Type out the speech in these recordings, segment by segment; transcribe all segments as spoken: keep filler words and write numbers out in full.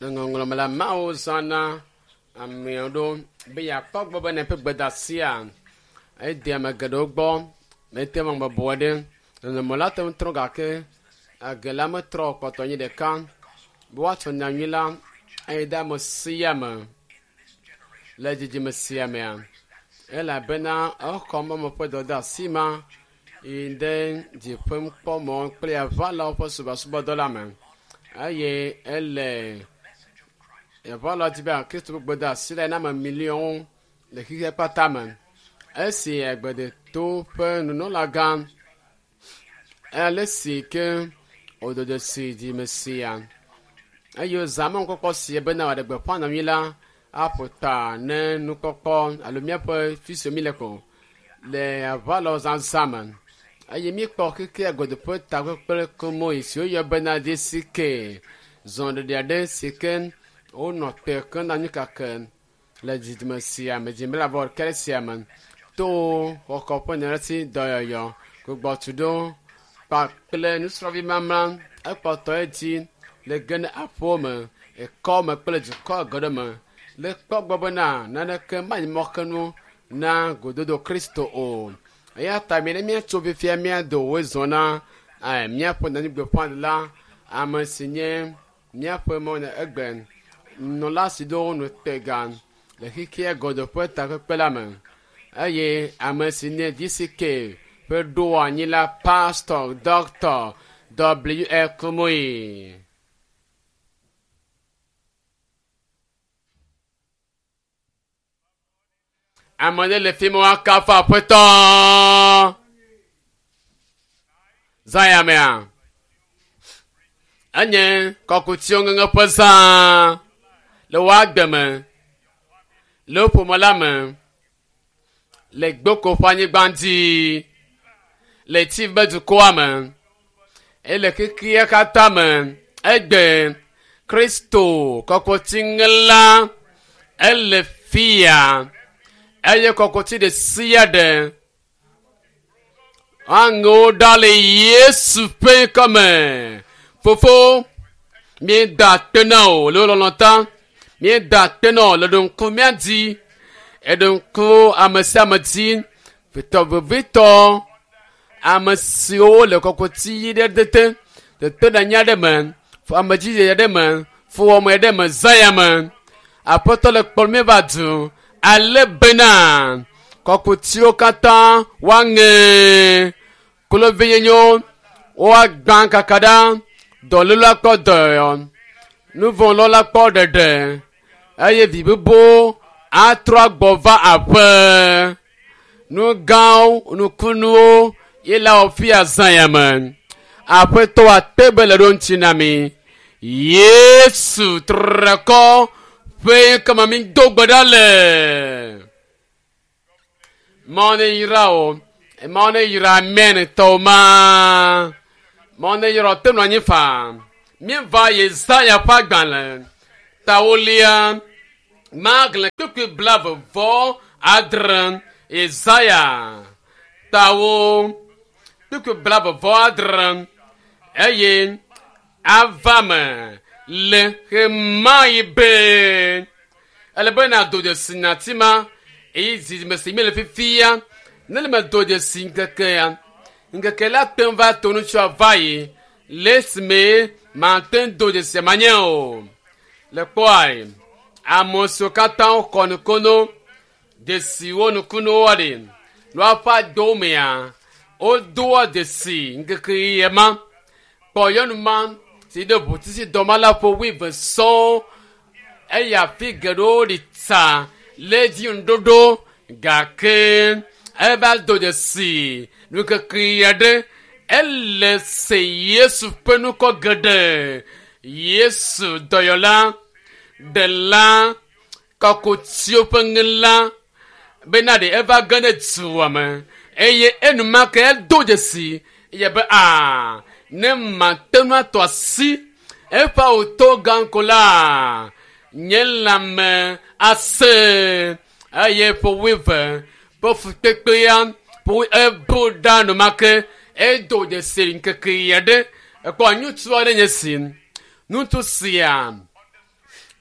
Le ŋɔŋlɔme la Mawu zãna ame aɖewo be yeakpɔ gbɔ be neƒe gbedasia ede ame geɖewo gbɔ mete ŋu bɔbɔ ɖe. Nɔnɔme la te ŋu trɔ gake age la metrɔ o, kpɔtɔ nyi ɖeka be woatsɔ nyanyui la eye ɖe ame sia ame le dzidzime sia mea elabena exɔ mɔme ƒe dɔdeasi ma yi ɖe dziƒomkpɔmɔ kple aʋalawo ƒe subɔsubɔdɔ la me eye ele aʋalawo di be Kristo ƒe gbedeasi la na ame miliɔnwo le xexea kpata me. Esi agbedeto ƒe nunɔlagã ale si ke wòdo dzesi dzime sia eye wòzã mɔnukpɔkpɔ sia bena wòaɖe gbeƒã nyanyui la aƒo ta ne nukpɔkpɔ alo míaƒe fi si míle ko le aʋalawo zazã me eye míekpɔ xexea godoƒe takpekpe komoyi si woyɔ bena DCK zɔɖeɖe aɖe si ke wonɔ te ke na anyi kake le dzidzime sia me dzime vɔ ɖeka sia me to xɔxɔ ƒe nyarasi dɔyɔyɔ gbugbɔtuɖo kpakple nusrɔ̃vi mamla ekpɔtɔ edzi le ge ne aƒewo me ekɔ me kple dukɔ geɖe me le kpɔ gbɔ bena naneke manyi mɔxenu na gododo Kristo o. Eya ta mi ne míatso fifia míado woe zɔ na eh, míaƒe nyanyuigbeƒãɖela ame si nye míaƒe mɔ egbe nunɔla si ɖo nutega le xexea godo ƒe takpekpe la me eye ame si nye DCK ƒe ɖoanyi la Pastor Doctor W. L. Kumuyi. Ame ɖe le fi ma woakafu aƒetɔ. Zã ya mea. Enye kɔkutiwo ŋeŋe ƒe zã le wo agbe me, le wo ƒome la me, le gboko ƒe anyigba dzi, le tsi be dukɔa me, eye le xexea katã me. Egbe Kristo kɔkutiŋela ele fia eye kɔkuti ɖe sia ɖe aŋewo ɖa le Yesu ƒe ŋkɔme. Fofo, míeda akpe na wò le wò lɔlɔ̃ ta. Míeda akpe na wò le ɖo ŋku mía dzi. Eɖo ŋku ame sia ame dzi. Vitɔ vevitɔ ame siwo le kɔkuti ɣi ɖe tete tete ɖe anyi aɖe me, ame dzidzi aɖe me, fuwɔame aɖe me, zã ya me. Aƒetɔ le kplɔm mí va du ale bena kɔkutiwo katã woaŋe klovinyenyewo woagbã kaka ɖa dɔléle akpɔ dɔyɔyɔ nuvɔ̃lɔla kpɔ ɖeɖe eye vi bubuwo atrɔ agbɔ va aƒe nu gãwo nukunuwo ye la wɔ fia zã ya me aƒetɔ ate be le ɖo ŋuti na mi Yesu trekɔ ƒe kama mi do gbe ɖa le Mawu ne yra wo Mawu ne yra amen tɔwo ma Mawu ne yra wo te nɔ anyi faa míeva Yesaya ƒe agbalẽ tawolia magblẽ kpukpui blave vɔ adre Yesaya tawo kpukpui blave vɔ adre eye ava me le ɣemaɣi be ele be nàdo dzesi nyati ma eye dzidzime si mi le fifia ne le me do dzesi ŋkekea ŋkeke la te ŋu va to nutsua va yi le esime mate ŋu do dzesi manye o le kpɔa ame siwo katã xɔ nukunu dzesiwo nukunuwo ɖi le woƒe adowo mea wodoa dzesi ŋkeke ɣi ma kpɔ nyɔnu ma si ɖe ʋutisi dɔma la ƒe wuieve sɔŋ eye afi geɖewo ɖi tsa le edzi ŋuɖoɖo gake eva do dzesi nukeke aɖe ele se Yesu ƒe ŋkɔ geɖe Yesu dɔyɔla ɖela kɔkutiwo ƒe ŋela bena ɖe eva ge ɖe dua me eye enumake edo dzesi eye be aa ne mate ŋu atɔ asi eƒe awuto gã ko la nye lãme ase eye ƒe wuieve ƒe fukpekpea ƒe ebu ɖa enumake edo dzesi ŋkeke aɖe ekpɔ ŋutsu aɖe nye si ŋutsu sia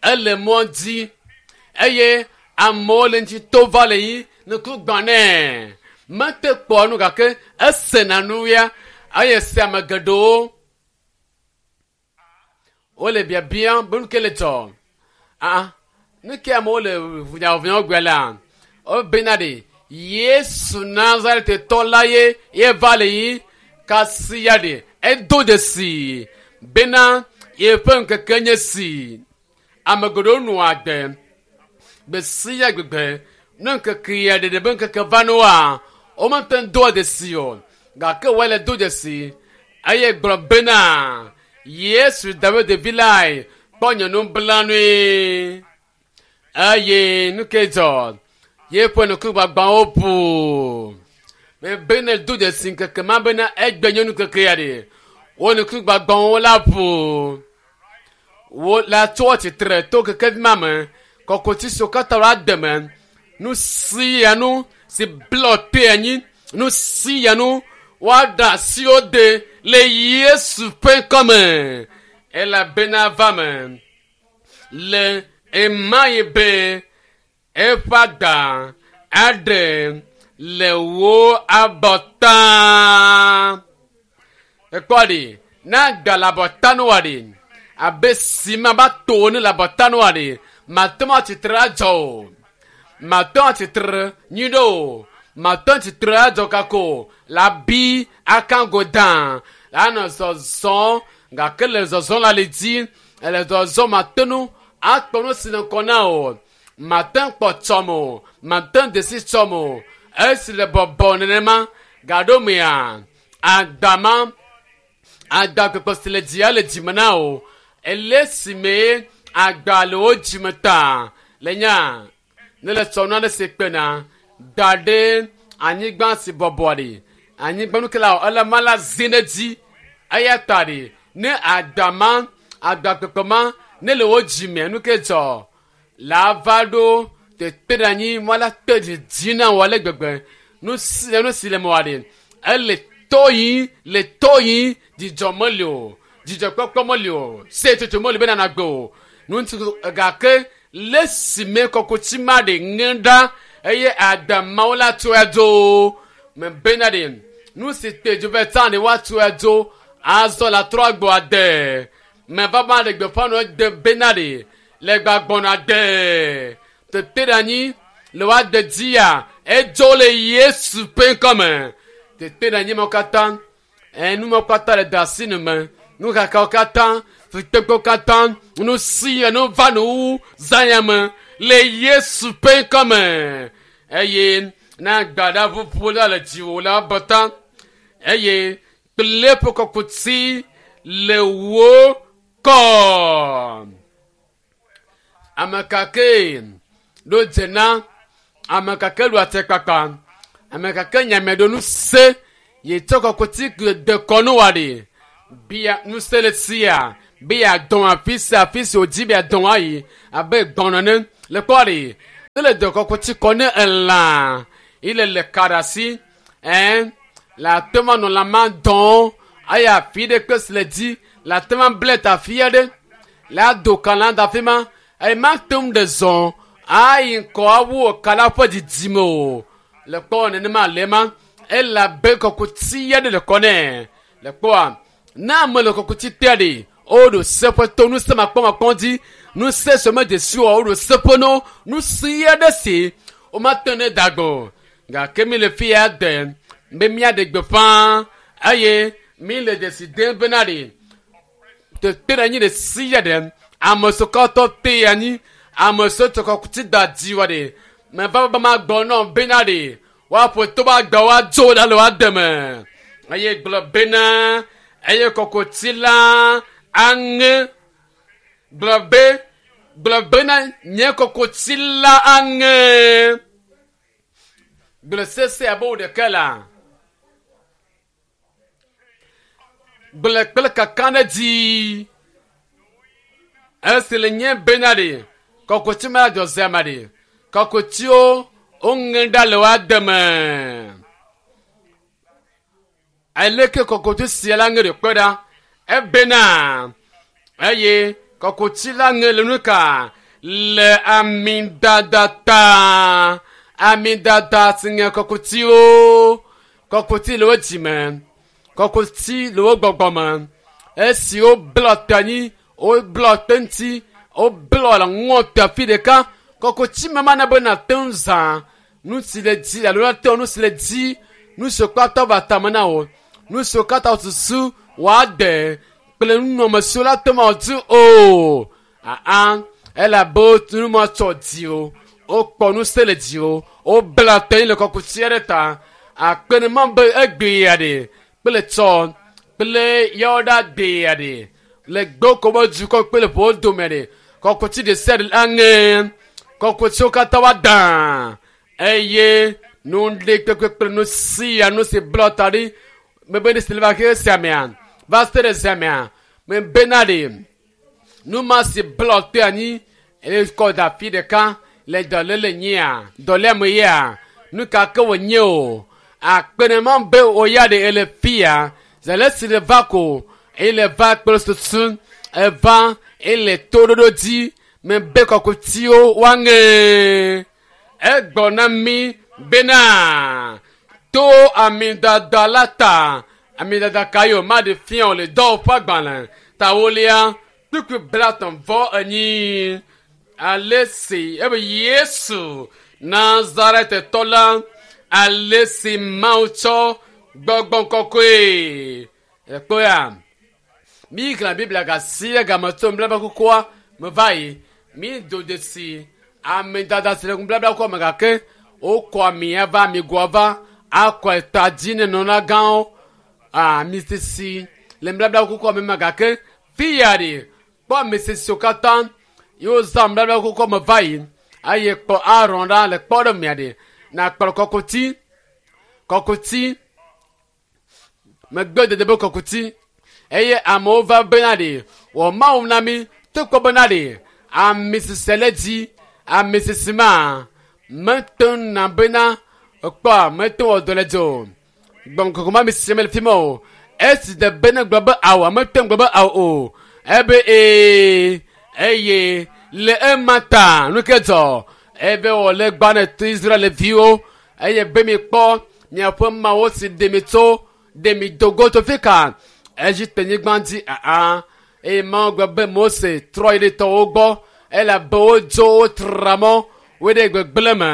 Ele mɔ dzi eye amewo le ŋuti to va le yi nuku gbã nɛ. Mete kpɔ nu gake esena nu ya eye se ame geɖewo wole biabiam be nu ke le dzɔ. Ah, nu ke amewo le vunyavunya gbe la, wobena ɖe Yesu Nazaretɔ la ye ye va le yi kasi ya ɖe edo dzesi bena yeƒe ŋkeke nye si. Ame geɖewo nɔa agbe gbe sia gbegbe ne ŋkeke ya ɖeɖe be ŋkeke va ne woa, womete ŋu doa dzesi o gake woale do dzesi eye gblɔ bena Yesu David vi lae kpɔ nye nublanui eye nu ke dzɔ yeƒe nukugbagbawo ʋu. Mebe ne do dzesi ŋkeke ma bena egbe nye nukeke ya ɖe wo nukugbagbawo la ʋu. Wo la tso tsitre to kekevi ma me kɔkɔtsi siwo katã la deme nu sia nu si blɔ te anyi nu sia nu woaɖe asiwo de le Yesu ƒe ŋkɔme elabena va me le ema yi be eƒe agba aɖe le wo abɔta. Ekpɔ ɖi ne agba le abɔta noa ɖi abe sima ba to ne le abɔta noa ɖi mate ŋu atsitre adzɔ o. Mate ŋu atsitre nyui ɖe o. Mate ŋu atsitre adzɔ kako la bi akango dã la nɔ zɔzɔm gake le zɔzɔm le ali dzi ele zɔzɔm mate ŋu akpɔ nu si le ŋkɔ na o. Mate ŋu kpɔ tsɔm o. Mate ŋu desi tsɔm o. Esi le bɔbɔ nenema gaɖo mea agba ma agba kpekpe si le dzia le dzime na o. Ele si me agba le wo dzime ta le nya ne le tsɔ nu aɖe si kpena da ɖe anyigba si bɔbɔ ɖi anyigba nu ke la ele ma la zi ɖe dzi eya ta ɖi ne agba ma agba kpekpe ma ne le wo dzime nu ke dzɔ la va ɖo tete ɖe anyi ma la te dzidzi na wò ale gbegbe nu si nu si le me wa ɖi ele to yi le to yi dzidzɔ meli o dzidzɔkpɔkpɔ meli o setsotso meli bena nagbe o nu ŋuti gake le si me kɔkɔtsi ma ɖe ŋe ɖa eye agba mawo la tso edzo me bena ɖe nu si te dzo vɛ tsã ɖe woatso edzo azɔ la trɔ agbɔ ade me va ma ɖe gbeƒã nɔ de bena ɖe le gbagbɔna de tete ɖe anyi le woade dzia edzo le Yesu ƒe ŋkɔme tete ɖe anyi mawo katã enu mawo katã le da asi nu me nuxaxawo katã fukpekpewo katã nu sia nu va nu wu zã ya me le Yesu ƒe ŋkɔme eye ne agba ɖe ʋuʋu la le dziwò la bɔta eye kple eƒe kɔkuti le wò kɔ. Ame kake ɖo dze na ame kake ɖo atikpakpa ame kake nyame ɖo nu se yi tsɔ kɔkuti de kɔnu wa ɖi bia ŋusẽ le sia be yeadɔn afi sia afi si wòdzi be yeadɔn ayi abe gbɔn ene le kpɔ ɖi ne le dɔ kɔkuti kɔ ne elã yi le le ka ɖe asi ɛn le ate ŋu anɔ lãma dɔn eye afi ɖe kpe si le dzi le ate ŋu able ta afi aɖe le ado ka la da afi ma eye mate ŋu ɖe zɔn ayi ŋkɔ awu ka la ƒe didime o le kpɔ nenema le ma elabe kɔkuti aɖe le kɔ nɛ le kpɔa ne ame le kɔkuti tea ɖe woɖo seƒe to ŋusẽ makpɔmakpɔ dzi ŋusẽ si me dzesi o woɖo seƒe no ŋusẽ aɖe si womate ne da gbɔ o gake mi le fi ya de be míaɖe gbeƒã eye mi le dzesi dem bena ɖe tete ɖe anyi ɖe sia ɖe ame siwo katã te anyi ame siwo tsɔ kɔkuti da dzi wa ɖe meva be magbɔ nɔ bena ɖe woaƒo to be agba woadzo ɖa le woade me eye gblɔ bena eye kɔkuti la aŋe gblɔ be gblɔ bena nye kɔkuti la aŋe gblɔ sese abe wo ɖeke la gblɔ kple kaka ɖe dzi esi le nye bena ɖe kɔkuti ma dzɔ zea ma ɖe kɔkutiwo woŋe ɖa le woade me aleke kɔkuti sia la ŋe ɖe kpe ɖa ebena eye Kɔkutsi la ŋe le nu ka le amidada ta. Amidada si ŋe kɔkutsiwo. Kɔkutsi le wo dzime. Kɔkutsi le wo gbɔgbɔ me. Esi woblɔ te anyi, woblɔ te ŋuti, woblɔ le ŋɔ te afi ɖeka. Kɔkutsi me mana be nate ŋu zã nu si le dzi alo nate ŋu nu si le dzi nu siwo katã va tame na wò nu siwo katã susu wòade kple nunɔamesiwo la te ma dzi o aa elabe nu ma tsɔ dzi o wokpɔ ŋusẽ le dzi o wobla te le kɔkutsi aɖe ta akpe ne ma be egbea ɖe kple tsɔ kple yawo ɖa gbea ɖe le gboko be dukɔ kple ƒowo dome ɖe kɔkutsi ɖe sia ɖe aŋe kɔkutsiwo katã wa dã eye nu ɖe kpekpe kple nu sia nu si blɔ ta ɖi mebe ne si le va xe sia mea va se ɖe sia mea mebena ɖe nu ma si blɔ te anyi eye kɔ da afi ɖeka le dɔléle nyia dɔléame yea nu ka ke wònye o akpe ne ma be wò ya ɖe ele fia zele si le va ko ele va kple susu eva ele toɖoɖo dzi mebe kɔkutiwo woaŋe egbɔ na mi bena to amidada la ta amidada ka yi o ma ɖe fia o le dɔwɔƒe agbalẽ tawolia kpukpui blatɔ̃ vɔ enyi ale si ebe Yesu Nazaretetɔ la ale si Mawu tsɔ gbɔgbɔ kɔkɔe ekpɔya mi xlẽ Biblia gasi ɖe game tso nubabla kukua me va yi mi do dzesi amidada si le nubabla kukua me gake wokɔ amia va amigoa va akɔ eta dzi ne nunɔlagãwo ami sisi le nubabla kukua me ma gake fia ɖe kpɔ ame sisiwo katã yewo zã nubabla kukua me va yi eye kpɔ Aron ɖa le kpɔ ɖe mia ɖe nakplɔ kɔkuti kɔkuti megbe dede be kɔkuti eye amewo va bena ɖe wɔ Mawu na mi to kpɔ bena ɖe ami sisi le dzi ami sisi ma mete ŋu na bena ekpɔa mete wɔ dɔ le dzi o gbɔgbɔ ma mi sisi mele fi ma o esi de bene gblɔ be awo mete ŋu gblɔ be awo o ebe ee eye le ema ta nu ke dzɔ ebe wòle gba ne to Israel viwo eye be mi kpɔ miaƒe mawo si ɖe mi tso ɖe mi dogo tso fi ka Egipte nyigba dzi aa eye Mawu gblɔ be Mose trɔ yi ɖe tɔwo gbɔ elabe wodzo wotra mɔ wo ɖe gbegblẽ me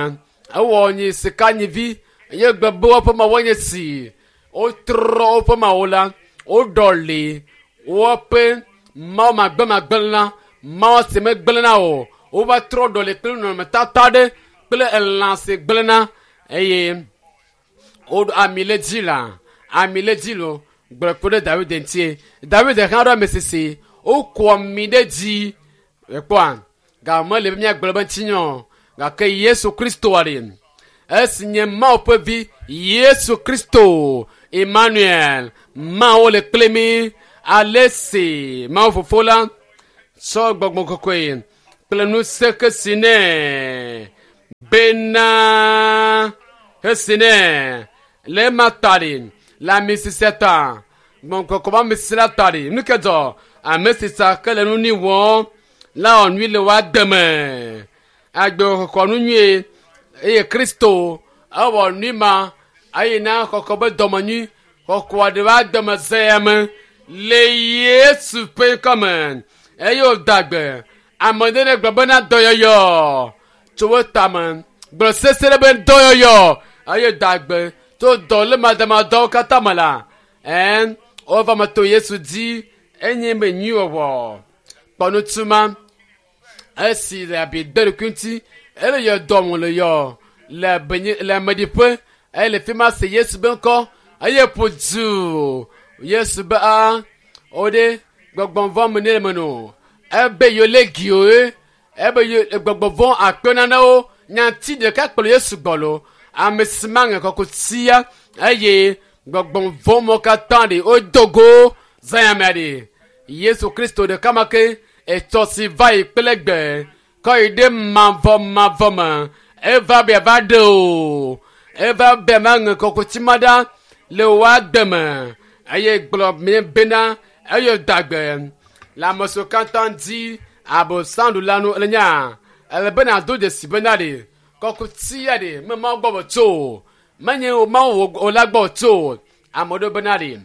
ewɔ nyi sika nyivi eye gblɔ be woƒe mawo nye si wotrɔ woƒe mawo la woɖɔli woƒe mawo magbemagbẽ la mawo si megblẽna o wova trɔ ɖɔli kple nɔnɔmetata ɖe kple elã si gblẽna eye woɖo ami le dzi la ami le dzi lo gblɔ kpe ɖe David ŋutie David hã ɖo ame sisi wokɔ ami ɖe dzi ekpɔa game le be míagblɔ be ŋutinya gake Yesu Kristo ɖe esi nye Mawu ƒe vi Yesu Kristo Emmanuel Mawu le kple mi ale si Mawu fofo la tsɔ gbɔgbɔ kɔkɔe kple ŋusẽ ke si nɛ bena hesi nɛ le ema ta ɖe le ami sisia ta gbɔgbɔ kɔkɔe be ami sisi la ta ɖe nu ke dzɔ ame sisa ke le nu ni wɔm la wɔ nyui le woa deme agbe xɔxɔ nu nyuie eye Kristo ewɔ nui ma eye na xɔxɔ be dɔme nyui xɔxɔa ɖe va deme zea me le Yesu ƒe ŋkɔme eye wòda gbe ame ɖe ne gblɔ bena dɔyɔyɔ tso wo tame gblɔ sese ɖe be dɔyɔyɔ eye da gbe tso dɔlémademadɔwo katã me la ɛn wova me to Yesu dzi enye be nyuiwɔwɔ kpɔ nutuma esi le abi de ɖokui ŋuti ele yɔ dɔm le yɔ le benye le ameɖiƒe eye le fi ma se Yesu be ŋkɔ eye ƒo du Yesu be a wo ɖe gbɔgbɔ vɔ̃ me ne le me no ebe yewo le giwo ebe ye gbɔgbɔ vɔ̃ akpe nanewo nyati ɖeka kplɔ Yesu gbɔ lo ame si ma ŋe kɔkutia eye gbɔgbɔ vɔ̃ mɔ katã ɖe wodo go zãyamea ɖe Yesu Kristo ɖeka ma ke etsɔ si va yi kple gbe kɔ yi ɖe mavɔ mavɔ me eva be ava ɖe o eva be ma ŋe kɔkuti ma ɖa le woa deme eye gblɔ mi bena eye da gbe Le ame siwo katã di abosanɖula nu le nya ele be nàdo dzesi bena ɖe kɔkuti ya ɖe me Mawu gbɔ wòtso o menye Mawu wò la gbɔ wòtso o. Ame aɖewo bena ɖe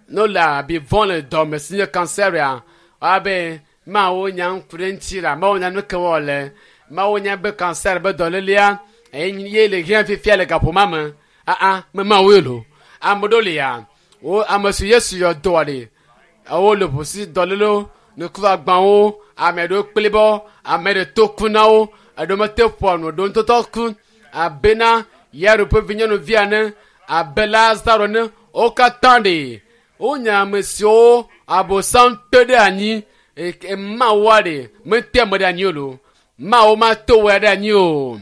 ne wole abi vɔ̃ le dɔme si nye kanseria woabe Mawu nya ŋku ɖe ŋuti la Mawu nya nu ke wɔm le Mawu nya be kanser be dɔlélea ye le hiã fifia le gaƒoma me aa me Mawu ye lo. Ame ɖewo lia wo ame si Yesu yɔ dɔa ɖe wole ʋu si dɔlélewo nukuagbawo ame ɖewo kplibɔ ame ɖe to ku na wo eɖewo mete ƒoa nu eɖewo ŋutɔtɔ ku abena Yairo ƒe vinyɔnuvi ene abe Lazaro ene wo katã ɖe wonye ame siwo Abosam te ɖe anyi eke Mawua ɖe mete ame ɖe anyi o lo. Mawu mato wɔ ɖe anyi o.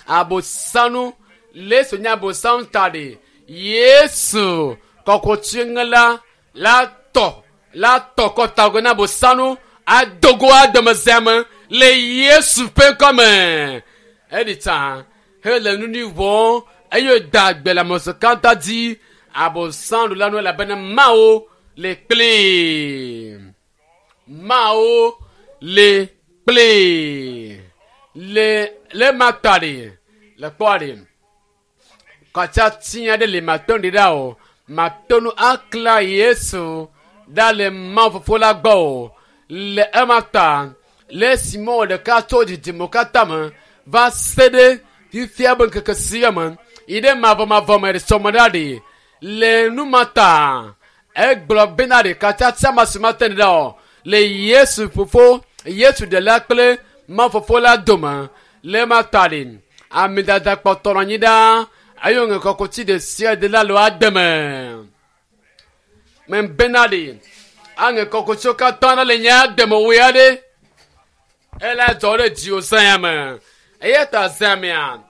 Abosanu le Yesu nye Abosam ta ɖe Yesu kɔkɔtsiŋela la tɔ la tɔ kɔtago na Abosanu adogo adomezea me le Yesu ƒe ŋkɔme. Eɖi tsa hele nu nyui wɔm eye wòda gbe le ame siwo katã dzi Abosanɖula nu elabena Mawu le kplii. Mawu le kplii. Le le ma ta ɖe le kpɔa ɖe katsatsi aɖe le mato ɖi ɖa o mato nu akla Yesu ɖa le Mawu fofo la gbɔ o le ema ta le esi mɔ ɖeka tso dzidzime katã me va se ɖe fifia be ŋkeke sia me yi ɖe mavɔmavɔ me ɖe sɔme ɖa ɖe le nu ma ta egblɔ bena ɖe katsatsi ma si mate ɖe ɖa o le Yesu fofo Yesu ɖela kple Mawu fofo la dome le ema ta ɖe ame dada kpɔtɔ nɔ anyi ɖaa eye wòŋe kɔkuti ɖe sia ɖe la le woade me. Membena ɖe aŋe kɔkutiwo katã ɖe le nye ade me woe aɖe ela dzɔ ɖe dziwò zã me eya ta zã mea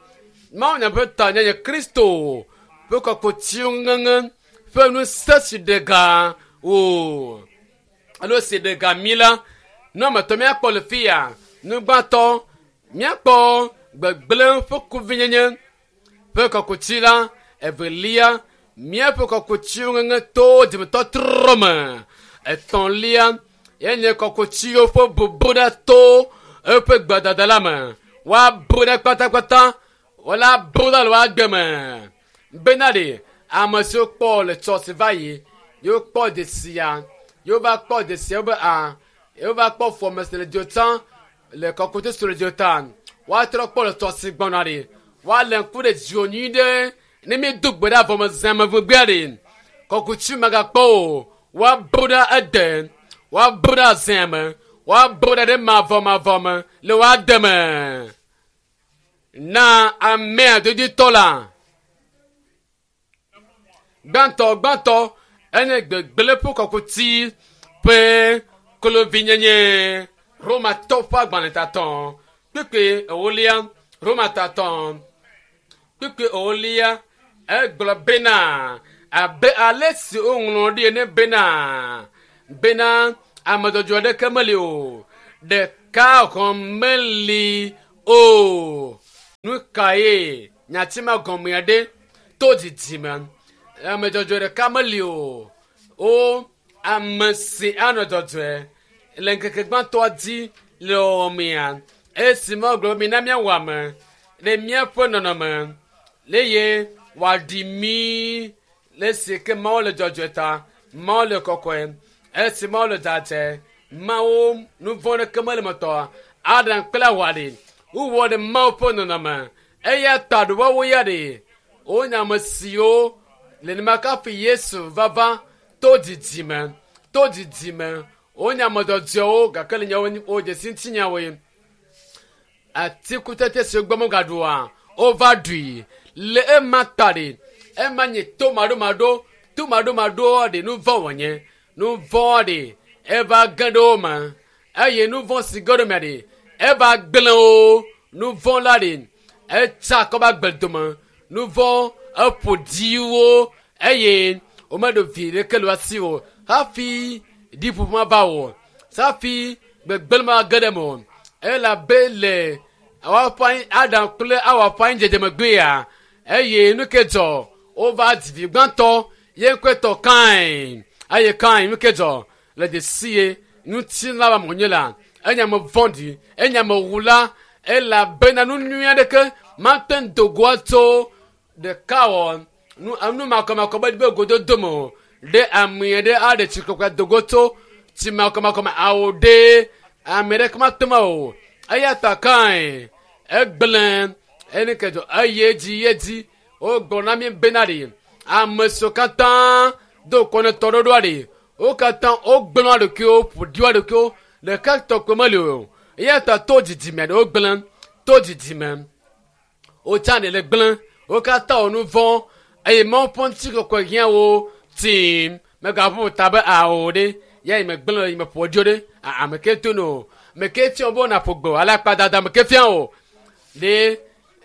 Mawu nya ƒe ta nye Kristo ƒe kɔkutiwo ŋeŋe ƒe ŋusẽ si ɖe ga wò alo si ɖe ga mí la nu ame etɔ̃ míakpɔ le fi ya nu gbãtɔ míakpɔ gbegblẽ ƒe kuvinyenye ƒe kɔkuti la evelia míaƒe kɔkutiwo ŋeŋe to dzimetɔtrɔ me etɔ̃lia yenye kɔkutiwo ƒe bubu ɖe to eƒe gbedada la me woabu ɖe kpatakpata wola bu ɖe le woagbe me bena ɖe ame siwo kpɔ le tsɔ si va yi yewo kpɔ dzesia yewo va kpɔ dzesia be a yewo va kpɔ fɔme si le dzo tsã le kɔkuti si le dzo ta woatrɔ kpɔ le tsɔ si gbɔna ɖe woalé ŋku ɖe dziwò nyui ɖe ne míedo gbe ɖe avɔme zã me vegbea ɖe kɔkuti megakpɔ o woabu ɖe ede woabu ɖe azã me woabu ɖe ɖe mavɔmavɔ me le woade me na amea doditɔ la gbãtɔ gbãtɔ enye gbegblẽ ƒe kɔkuti ƒe klovinyenye Romatɔ ƒe agbalẽ tatɔ kpekpe ewolia Roma tatɔ kpekpe ewolia egblɔ bena abe ale si woŋlɔ ɖi ene bena bena ame dzɔdzɔe aɖeke meli o ɖeka hɔ̃ meli o. Nu kae nyati ma gɔmea ɖe to dzidzime ame dzɔdzɔe ɖeka meli o wo ame si anɔ dzɔdzɔe le ŋkeke gbãtɔa dzi le wɔmea esi ma gblɔ be mina míawɔ ame le míaƒe nɔnɔme eye wòaɖi mí le esi ke Mawu le dzɔdzɔe ta Mawu le kɔkɔe esi Mawu le dzadzɛ Mawu nu vɔ̃ ɖeke mele me tɔa Adam kple Awa ɖe wowɔ ɖe Mawu ƒe nɔnɔme eya ta ɖe woawo ya ɖe wonye ame siwo le nenema kafi Yesu vava to dzidzime to dzidzime wonye ame dzɔdzɔewo gake le nyawo wo dzesi ŋutinyawoe atikutsetse siwo gbɔ megaɖua wova ɖui le ema ta ɖe ema nye to maɖomaɖo to maɖomaɖoa ɖe nu vɔ̃ wònye nu vɔ̃ ɖe eva ge ɖe wo me eye nu vɔ̃ si ge ɖe mea ɖe eva gblẽ wo nu vɔ̃ la ɖe etsa akɔ va gbe dome nu vɔ̃ eƒo ɖi wo eye womeɖo vi ɖeke le wo asi o hafi ɖiƒoƒo ma va o hafi gbegblẽ ma ge ɖe me o elabe le woaƒe Adam kple Awa ƒe anyidzedze megbea eye nu ke dzɔ wova dzi vi gbãtɔ ye ŋkɔe tɔ Kain eye Kain nu ke dzɔ le dzesi ye Ŋutilã be ame wònye la, enye ame vɔ̃ɖi, enye amewula, elabena nu nyui aɖeke mate ŋu do go tso ɖeka wɔ nu enu makɔmakɔ be be gododo me o. Ɖe ame aɖe aɖe tsi kɔkɔe do go tso tsi makɔmakɔ me awo ɖe ame aɖeke mate ŋu o. Eya ta kae egblẽ eni ke dzɔ eye dzi ye dzi wogblɔ na mi bena ɖe ame siwo katã do kɔ ne tɔɖoɖoa ɖe wo katã wogblẽ wo ɖokuiwo ƒo ɖi wo ɖokuiwo ɖeka tɔgbe meli o. Eya ta to dzidzime ɖe wogblẽ to dzidzime wotsa ɖe le gblẽ wo katã wɔ nu vɔ̃ eye Mawu ƒe ŋutikɔkɔe hiã wo tim megaʋu ta be awo ɖe ya yi megblẽ yi meƒo dzo ɖe ame ke to no ame ke fia be wona ƒo gbe o ale akpadada ame ke fia o ɖe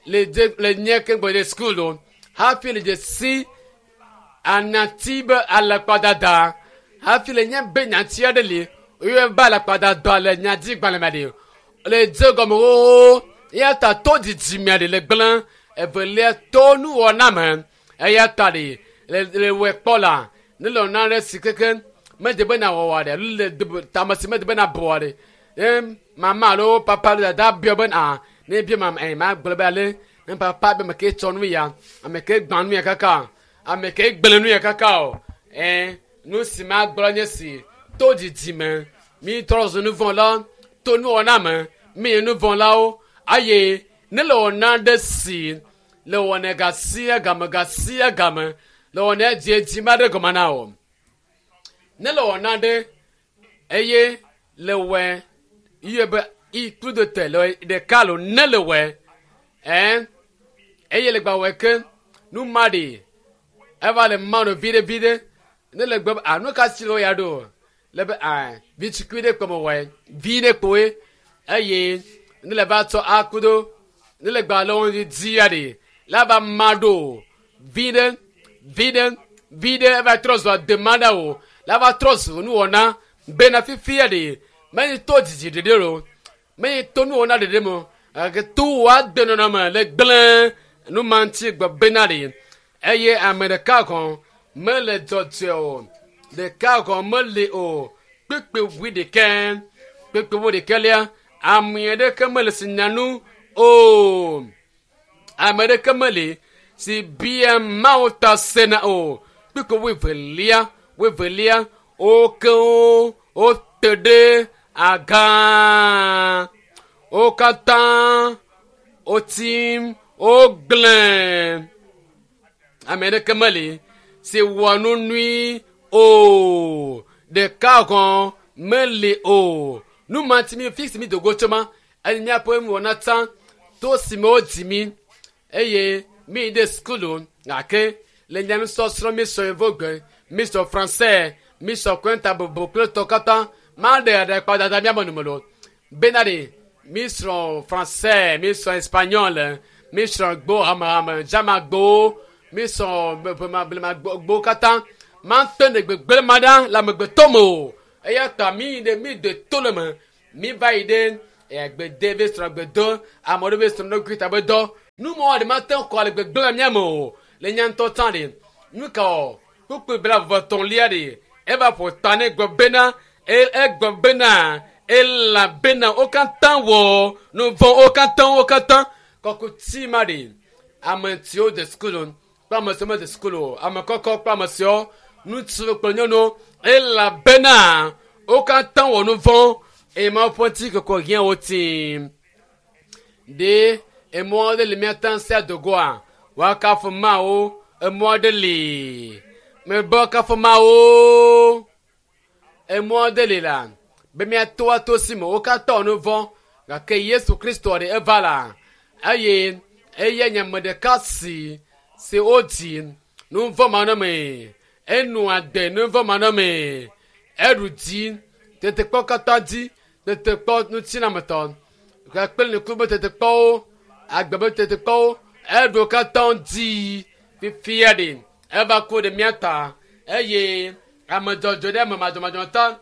le dze le nye ke gbɔ ɖe sukulu o hafi le dze si anati be alakpadada hafi le nye be nyati aɖe li woyɔe be alakpadada le nyadzigbalẽ me ɖe le dze gɔme xoxo eya ta to dzidzime ɖe le gblẽ evelia to nuwɔna me eya ta ɖe le le wɔe kpɔ la ne le wɔna ɖe si keke mede be na wɔwɔ ɖe alo le tame si mede be na bɔ ɖe ne mama alo papa alo dada biɔ be na ne bia mama ɛ ma gblɔ be ale ne papa be ame ke tsɔ nu ya ame ke gbã nu ya kaka ame ke gblẽ nu ya kaka o ɛ nu si ma gblɔ nye si to dzidzime mi trɔ zu nu vɔ̃ la to nuwɔna me mi nye nu vɔ̃ lawo eye ne le wɔna ɖe si le wɔnɛ gasia game gasia game le wɔnɛ dzi dzi ma ɖe gɔme na o ne le wɔna ɖe eye le wɔe iye be iklu do te le ɖeka lo ne le wɔe ɛ eye le gba wɔe ke nu ma ɖi eva le ma no viɖe viɖe ne le gbe a nu ka si le wo ya ɖo le be a vitsikui ɖe kpɔme wɔe vi ɖe kpoe eye ne le va tsɔ akudo ne le gba le wo dzi ya ɖi la va ma ɖo vi ɖe vi ɖe vi ɖe eva trɔ zu adema ɖa o la va trɔ zu nuwɔna bena fifia ɖe menye to dzidzi ɖeɖe o menye to nuwɔna ɖeɖe me o gake to wòa de nɔnɔme le gblẽ nu ma ŋuti gbe bena ɖe eye ame ɖeka gɔ̃ mele dzɔdzɔe o ɖeka gɔ̃ meli o kpekpe wui ɖekɛ kpekpe wui ɖekɛ lia ame aɖeke mele si nya nu o ame aɖeke meli si bia Mawu ta sena o kpekpe wui velia wui velia wo kewo wote ɖe aga wo katã wotsi wogblẽ ame aɖeke meli si wɔ nu nyui o ɖeka gɔ̃ meli o nu ma ti mi fi si mi dogo tso ma eye míaƒe nuwɔna tsã to si me wodzi mi eye mi de sukulu gake le nya nusɔsrɔ̃ mi sɔ yevogbe mi sɔ français mi sɔ kɔnta bobo kple tɔ katã ma ɖe aɖakpadada míame nume lo bena ɖe mi srɔ̃ français mi srɔ̃ espagnol mi srɔ̃ gbo hamehame dzamagbowo mi srɔ̃ blemagbowo katã ma te ne gbegblẽ ma ɖa le amegbetɔ me o eya ta mi ɖe mi de to le me mi va yi ɖe gbede be srɔ̃ gbedo ame aɖewo be srɔ̃ ɖokui ta be dɔ nu ma ɖe ma te ŋu kɔ le gbegblẽ mía me o le nya ŋutɔ tsã ɖe nu ka wɔ kpukpui bla vɔtɔ̃lia ɖe eva ƒo ta ne gblɔ bena egblɔ bena elabena wo katã wɔ nu vɔ̃ wo katã wo katã kɔkuti ma ɖe ame siwo de sukulu kple ame siwo mede sukulu o ame kɔkɔ kple ame siwo ŋutsu kple nyɔnuwo elabena wo katã wɔ nu vɔ̃ eye Mawu ƒe ŋutikɔkɔe hiã wo tim ɖe emɔ aɖe le míate ŋu sia dogoa woakafu Mawu emɔ aɖe li mebe woakafu Mawu emɔ aɖe li la be míato ato si me wo katã wɔ nu vɔ̃ gake Yesu Kristo ɖe eva la eye eye nye ame ɖeka si si wodzi nu vɔ̃ manɔmee enu ade nu vɔ̃ manɔmee eɖu dzi tetekpɔ katã dzi tetekpɔ ŋutinametɔ kple nuku be tetekpɔwo agbe be tetekpɔwo eɖu katã dzi fifia ɖe eva ku ɖe mía ta eye ame dzɔdzɔ ɖe ame madzɔmadzɔ ta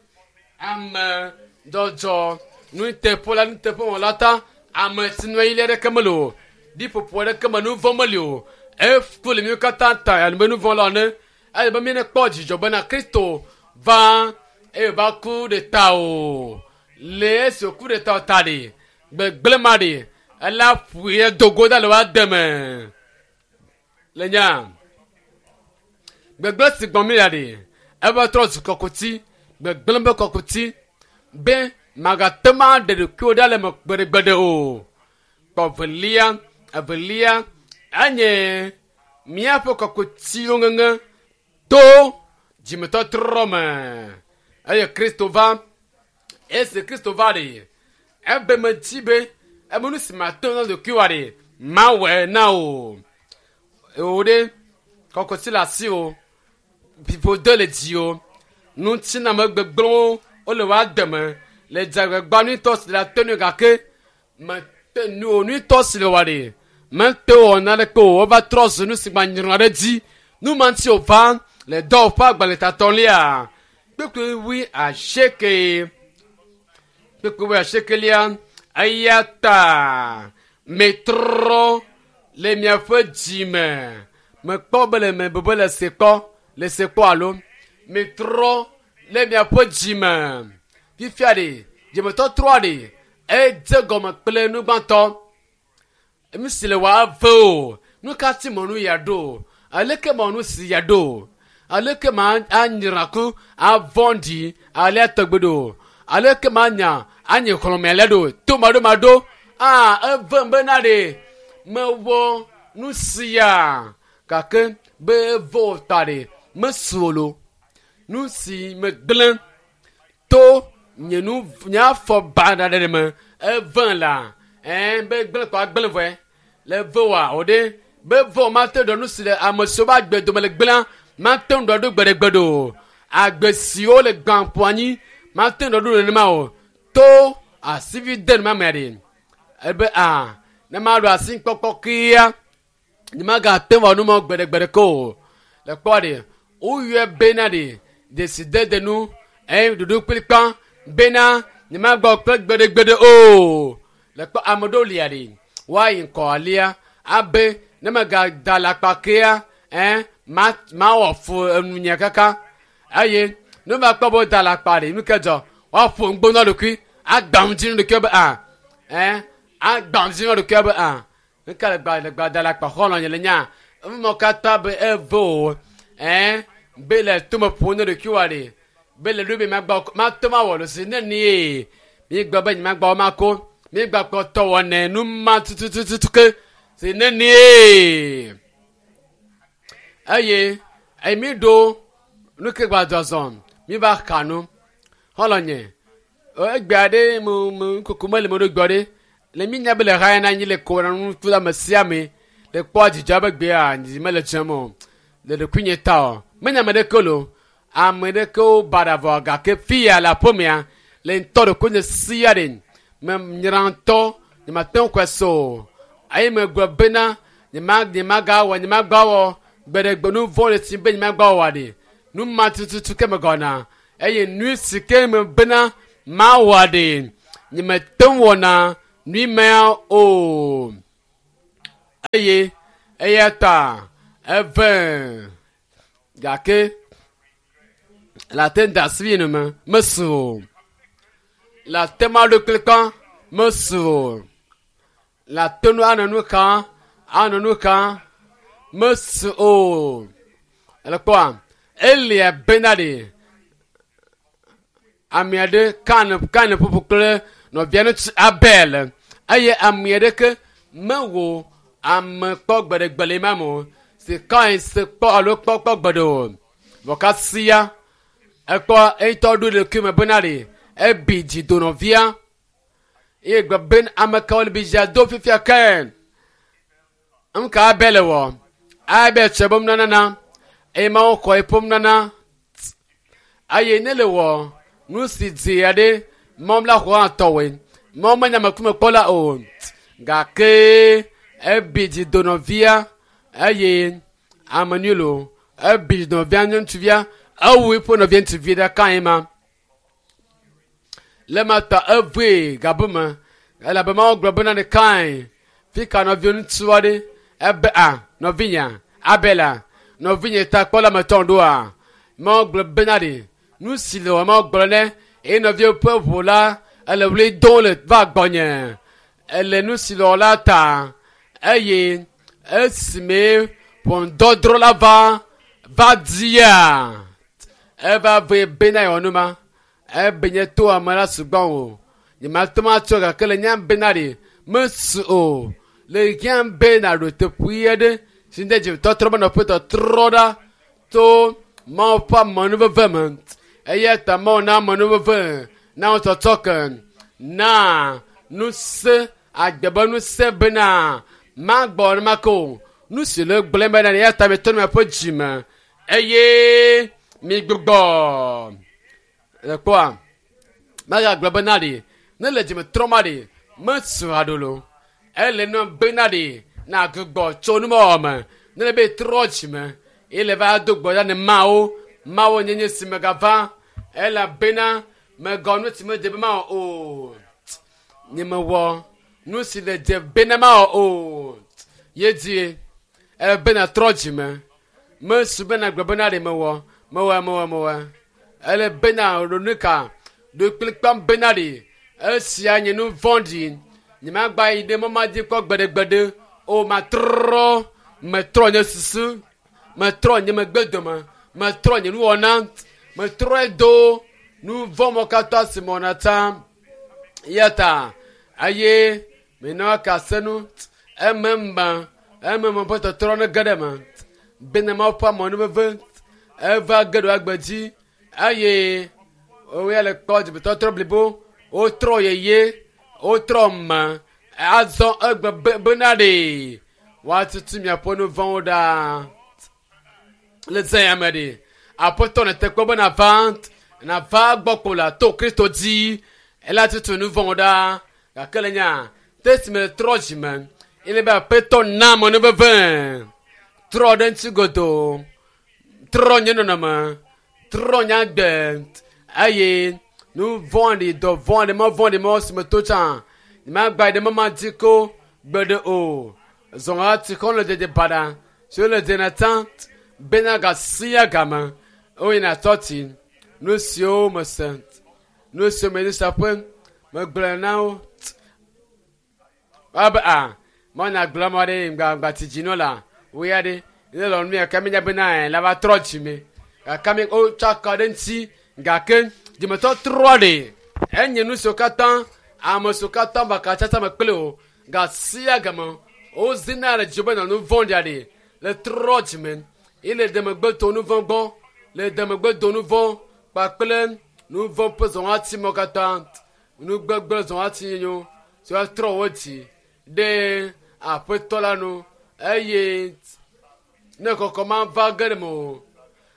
ame dzɔdzɔ nuteƒela nuteƒewɔla ta ame si nu ɣi aɖeke mele o ɖiƒoƒo aɖeke me nu vɔ̃ meli o eku le mí katã ta alo be nu vɔ̃ la ene ele be míekpɔ dzidzɔ bena Kristo va Eye wòva ku ɖe tawò. Le esi wòku ɖe tawò ta ɖe, gbegblẽ ma ɖe, ela ƒoe do go ɖa le wòa deme. Le nya. Gbegblẽ si gbɔ mi ya ɖe, eva trɔ zu kɔkuti, gbegblẽ be kɔkuti, be magate ŋu aɖe ɖokuiwò ɖa le eme gbeɖegbeɖe o. Kpɔ evelia, evelia enye míaƒe kɔkutiwo ŋeŋe to dzimetɔtrɔ me. Eye Kristo va, esi Kristo va ɖe, ebe medzi be ebe nu si mate ŋu na ɖokuiwòa ɖe, mawɔe na wò. Wò ɖe, kɔkuti le asiwò, ƒiƒode le dziwò, ŋutiname gbegblẽwo wole wò ademe, le dzagbagba nyuitɔ si le ate ŋui gake mete nu nyuitɔ si le wòa ɖe, mete wɔ naneke o, wova trɔ zu nu si gbanyrɔ ɖe dzi. Nu ma ŋuti wòva le dɔwɔƒe agbalẽtatɔlia, kpukpui wui asieke, kpukpui wui asiekelia, eya ta metrɔ le miaƒe dzime. Mekpɔ be le me be le se kpɔ, le se kpɔ alo metrɔ le miaƒe dzime. Fifia ɖe, dzimetɔtrɔa ɖe, edze gɔme kple nu gbãtɔ. Nu si le wòa eve o. Nu ka ti mɔ nu ya ɖo? Aleke mɔ nu si ya ɖo? Aleke ma anyra ku avɔ̃ɖi alea tɔgbe ɖo? Aleke ma anya anye xlɔ̃me alea ɖo? To maɖomaɖo, ah, evem bena ɖe mewɔ nu sia gake be eve wò ta ɖe mesu o lo. Nu si megblẽ to nye nu nye afɔ baɖa ɖe me eve la, ɛɛ be gblẽ kɔ agblẽ vɔe le ve wòa o ɖe be ve wò mate ɖɔ nu si le ame siwo be agbe dome le gblẽa mate ŋu ɖɔ ɖo gbeɖegbeɖe o. Agbe siwo le gbã ƒo anyi mate ŋu ɖɔ ɖo nenema o. To asivi de numa mea ɖe ebe a ne maɖo asi kpɔkpɔ kia nye magate ŋu awɔ nu ma gbeɖegbeɖe ke o. Le kpɔ ɖe woyɔe bena ɖe dzesidede nu eye ɖoɖo kplikpa bena nye magbɔ kple gbeɖegbeɖe o. Le kpɔ ame ɖewo lia ɖe woayi ŋkɔ alia abe ne megada le akpa kea ɛn ma mawɔ fu enunye kaka eye ne va kpɔ be woda le akpa ɖe nu ke dzɔ woaƒo ŋgbo na ɖokui agbã ŋdzi na ɖokui be a ɛn agbã ŋdzi na ɖokui be a nuka le gba le gba da le akpa xɔlɔ nye le nya emɔ katã be eve o ɛn be le tome ƒo na ɖokui wa ɖe be le ɖo be magbɔ mate ma wɔ lo si ne nie mi gblɔ be nye magbɔ mako mi gba kpɔtɔ wɔnɛ nu ma tutututu ke si ne nie eye eye mi ɖo nu ke gba zɔzɔ mi va xa nu xɔlɔ nye egbea ɖe me me koko mele me ɖo gbɔ ɖe le mi nya be le ha na anyi le ko na nu tu ame sia ame le kpɔ dzidzɔ be gbea dzi mele dzem o le ɖokuinye ta o menya ame ɖeke lo ame ɖekewo baɖa vɔ gake fia le aƒemea le ŋutɔ ɖokuinye sia ɖe me nyra ŋutɔ nye mate ŋu kɔe so o eye megblɔ bena nye ma nye magawɔ nye magbawɔ gbeɖegbe nu vɔ le si be nye magbawɔ ɖe nu ma tututu ke megɔna eye nu si ke me bena mawɔ ɖe nye mete ŋu wɔna nui mea o eye eya ta eve gake le ate ŋu da asi nu me mesu o le ate ma ɖo kplikpa mesu o le ate nu anɔ nu kam anɔ nu kam mesu o ele kpɔa elia bena ɖe ame aɖe kan kan ƒoƒo kple nɔvia ŋutsu Abel eye ame aɖeke mewɔ ame kpɔ gbeɖegbe le ma me o si Kain se kpɔ alo kpɔ kpɔ gbeɖe o vɔ kasia ekpɔ eyitɔ ɖo ɖokui me bena ɖe ebi dzi do nɔvia eye gblɔ be ame kawo le bi dzia do fifia ke nuka Abel wɔ Abel tsɔ be nunana eye Mawu xɔ eƒe nunana eye ne le wɔ nu si dzi aɖe Mawu la xɔ hã tɔwoe Mawu menya amekume kpɔla o gake ebi dzi do nɔvia eye ame nyui lo ebi dzi do nɔvia ŋutsuvia ewu eƒe nɔvia ŋutsuvi ɖeka yi ma le ma ta evoe gabu me elabe Mawu gblɔ bena ne Kain fi ka nɔvia ŋutsu aɖe ebe a nɔvinya Abela nɔvinye ta kpɔla me tɔ ɖoa Mawu gblɔ bena ɖe Nu si le wɔm gblɔ ne eye nɔviwo ƒe ʋu la ele wli dom le va gbɔnye. Ele nu si le wɔ la ta eye esime ʋɔnudɔdrɔ̃ la va va dia eva ve bena yewɔ nu ma ebe nye to ame la sugbɔ o nyemate ŋu atsɔ gake le nya bena ɖe mesu o le hiã be naɖo teƒe aɖe si de dzimetɔtrɔ be nɔƒe tɔtrɔ ɖa to Mawu ƒe amenuveve me eya ta Mawu na amenuveve na wo tsɔtsɔ ke na ŋusẽ agbe be ŋusẽ bena magbɔ nenema ke o nu si le gblẽ bena eya ta mitrɔ miaƒe dzime eye migbugbɔ le kpɔa megagblɔ bena ɖe ne le dzime trɔm aɖe mesu haɖo lo ele nu bena ɖe na gbugbɔ tso numewɔ me ne le be trɔ dzime eye le va do gbɔ ɖa ne Mawu Mawu nye nye si megava elabena megɔ nu si medze be mawɔ o nye mewɔ nu si le dze bena mawɔ o ye die ele bena trɔ dzime mesu bena gblɔ bena ɖe mewɔ mewɔ mewɔ mewɔ ele bena ɖo nu ka ɖo kplikpam bena ɖe esia nye nu vɔ̃ɖi nyemagba yi ɖe mɔ ma dzi kpɔ gbeɖegbeɖe o matrɔ metrɔ nye susu metrɔ nye megbe dome metrɔ nye nuwɔna metrɔe do nu vɔ̃ mɔ katã si mewɔna tsã eya ta eye menɔ kase nu ememe ememe ƒe tɔtrɔ ne ge ɖe eme bena Mawu ƒe amenuveve eva ge ɖo agbe dzi eye woya le kpɔ dzimetɔtrɔ blibo wotrɔ yeye wotrɔ me azɔ egbe be bena ɖe woatutu miaƒe nu vɔ̃wo ɖa le zã ya me ɖe aƒetɔ ne te kpɔ be nava nava gbɔ kpo la to Kristo dzi ela tutu nu vɔ̃wo ɖa gake le nya te si me trɔ dzime ele be aƒetɔ na amenuveve trɔ ɖe ŋuti godoo trɔ nye nɔnɔme trɔ nye agbe eye nu vɔ̃ɖi dɔ vɔ̃ɖi mɔ vɔ̃ɖi mɔ si me to tsã nyemagba yi ɖe mɔ ma dzi ko gbeɖe o zɔn ati xɔ le dede baɖa si wole dzena tsã bena gasia game woyina tsɔtsi nu siwo mese nu siwo me saƒe megblɔ na wo abe a mɔna gblɔ mɔ ɖe ŋgbagba tsi dzi no la wo ya ɖe ne lɔ nu ya ke mi nya bena la va trɔ dzime gake mi wotsɔ akɔ ɖe ŋuti gake dzimetɔtrɔ ɖe enye nu siwo katã ame siwo katã baka tsatsa me kple o gasia game wozina le dziwo be nɔ nu vɔ̃ɖia ɖe le trɔ dzime ye le demegbe to nu vɔ̃ gbɔ le demegbe do nu vɔ̃ kpakple nu vɔ̃ ƒe zɔwɔati mɔ katã nu gbegblẽ zɔwɔati nyo si woatrɔ wo dzi ɖe aƒetɔ la nu eye ne kɔkɔ ma va ge ɖe me o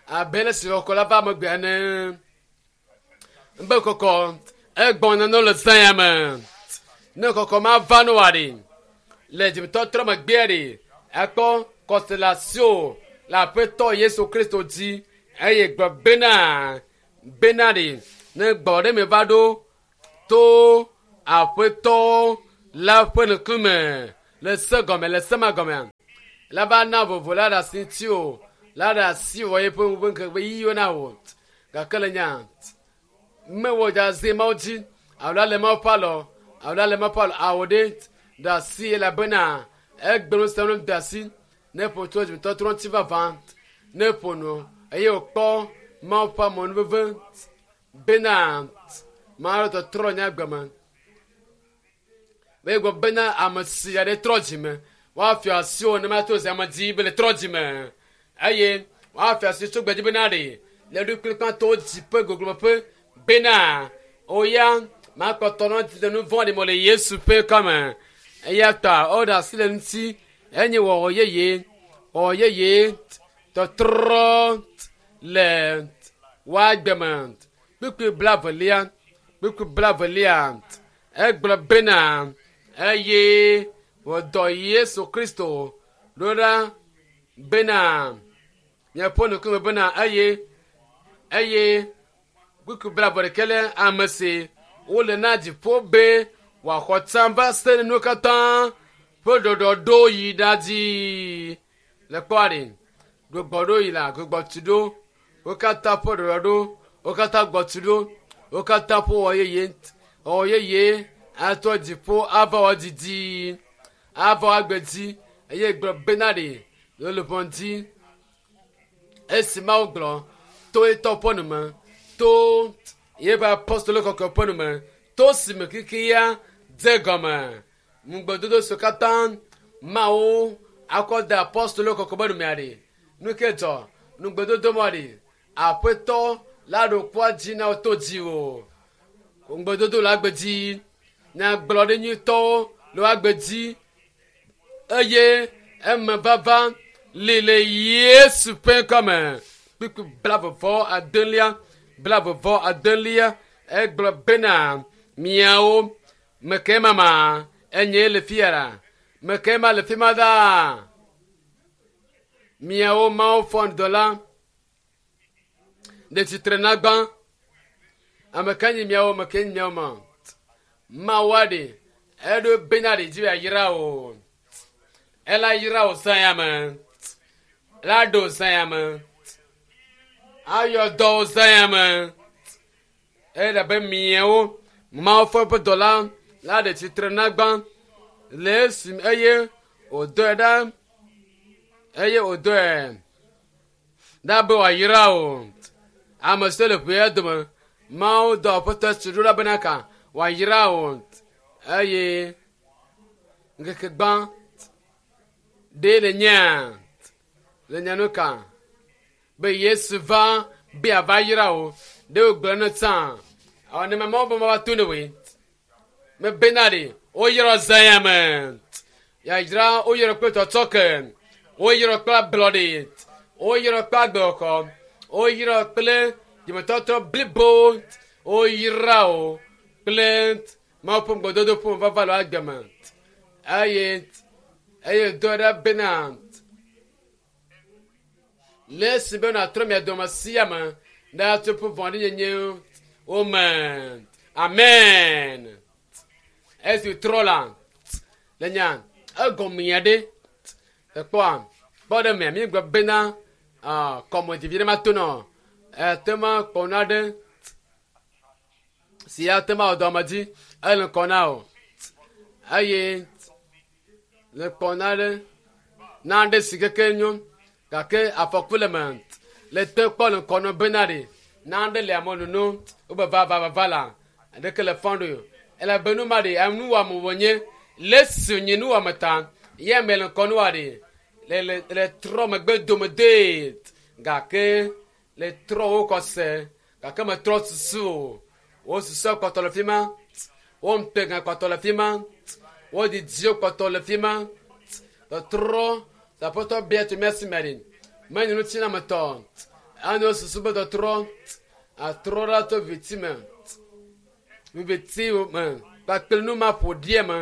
abe le si kɔkɔ la va megbe ene be kɔkɔ egbɔna no le zã ya me ne kɔkɔ ma va no wa ɖe le dzimetɔtrɔ megbea ɖe ekpɔ constellation le aƒetɔ Yesu Kristo dzi eye gblɔ bena bena ɖe ne gbɔ ɖe me va ɖo to aƒetɔ la ƒe ŋkume le se gɔme le se ma gɔmea la va na vovo la ɖe asi ŋuti o la ɖe asi wɔ yeƒe ŋu ŋkeke yiwo na wò gake le nya mewɔ dza Mawu dzi alo ale Mawu ƒe alɔ alo ale Mawu ƒe alɔ awo ɖe ɖe asi elabena egbe nu sia nu de asi ne ƒo tso dzimetɔtrɔ ŋuti vavã ne ƒo nu eye wòkpɔ Mawu ƒe amenuveve bena Mawu tɔtrɔ nye agbe me be gblɔ bena ame si aɖe trɔ dzime woafia asi wo ne ma to zi ame dzi be le trɔ dzime eye woafia asi tso gbedzi bena ɖe le ɖo kplikpã dzi ƒe goglomeƒe bena oya makpɔtɔ nɔ le nu vɔ̃ɖi me le Yesu ƒe kɔme eya ta woɖe asi le ŋuti enye wɔwɔ yeye wɔwɔ yeye tɔtrɔ le woagbe me kpukpui blavelia kpukpui blavelia egblɔ bena eye wòdɔ Yesu Kristo ɖo ɖa bena miaƒe ŋkume bena eye eye kpukpui blave ɖekɛ le ame si wole na dziƒo be wòaxɔ tsã va se ɖe nuwo katã ƒe ɖɔɖɔɖo yi ɖa dzi le kpɔa ɖe gbugbɔ ɖo yi la gbugbɔ tu ɖo wo katã ƒe ɖɔɖɔɖo Wo katã gbɔ tu ɖo. Wo katã ƒo wɔ yeye. Wɔ yeye atɔ dziƒo ava wɔ didi. Ava wɔ agbe dzi. Eye gblɔ bena ɖe le luʋɔ dzi. Esi Mawu gblɔ to etɔ ƒe nu me. To yeƒe apostolo kɔkɔe ƒe nu me. To si me kikia dze gɔme. Ŋugbedodo siwo katã Mawu akɔ de apostolo kɔkɔe ƒe nu mea ɖe. Nu ke dzɔ ŋugbedodo ma ɖe. Aƒetɔ la ɖo kua dzi na wo to dziwò. Ŋugbedodo le agbe dzi. Nyagblɔɖi nyuitɔwo le agbe dzi. Eye eme vava li le Yesu ƒe ŋkɔme. Kpukpui blaeve adelia, blaeve adelia egblɔ bena miawo meke mama enye le fia la. Meke ma le fi ma ɖaa. Miawo Mawu fɔ ŋdɔ la ɖe tsitre na gbã. Ame ka nyi miawo meke nyi miawo ma. Mawu aɖe eɖo bena ɖe dzi ayra o. Ela yra o zã ya me. La ɖo zã ya me. Ayɔ dɔ o zã ya me. Ele be miawo Mawu ƒe ƒe dɔla la ɖe tsitre na gbã le esi eye wòdɔe ɖa eye wòdɔe ɖa be wòayra o. Ame siwo le ʋea dome Mawu dɔ Aƒetɔ Yesu ɖo ɖa bena ka wòayra o. Eye ŋkeke gbã ɖe le nyea le nya nu ka be Yesu va be ava yra o. Ɖe wògblɔ ne tsã awɔ ne Mawu be mava to ne woe. Mebena ɖe woyrɔ zã ya me. Yayra woyrɔ kple tsɔtsɔke. Woyrɔ kple ablɔɖe. Woyrɔ kple agbexɔ. Woyrɔ kple dzimetɔtrɔ blibo. Woyra o kple Mawu ƒe ŋugbedodo ƒe vava le agbe me. Eye eye do ɖe bena le esi be nàtrɔ mia dome sia me ɖe atso ƒe vɔ̃ɖinyenye wo me. Amen. Esi trɔ la le nya egɔmea ɖe ekpɔa kpɔ ɖe mea mi gblɔ bena kɔmɔdzivi ɖe ma to nɔ ete ma kpɔna ɖe si ate ma wɔ dɔme dzi ele ŋkɔ na o eye le kpɔna ɖe na ɖe si keke nyo gake afɔku le me le te kpɔ le ŋkɔ nɔ bena ɖe na ɖe le ame nono wobe va va va va la ɖeke le fɔn ɖo elabe nu ma ɖe nuwɔame wònye le si nye nuwɔame ta ye ame le ŋkɔ nua ɖe le le le trɔ megbe dome dee gake le trɔ wo kɔse gake metrɔ susu o wo susu kpɔtɔ le fi ma wo ŋutega kpɔtɔ le fi ma wo didiwo kpɔtɔ le fi ma tɔtrɔ aƒetɔ bia tso mía si me ɖe menye ŋutinyametɔ anɔ susu be tɔtrɔ atrɔ ɖa tso viti me viti me kpakple nu ma ƒo ɖie me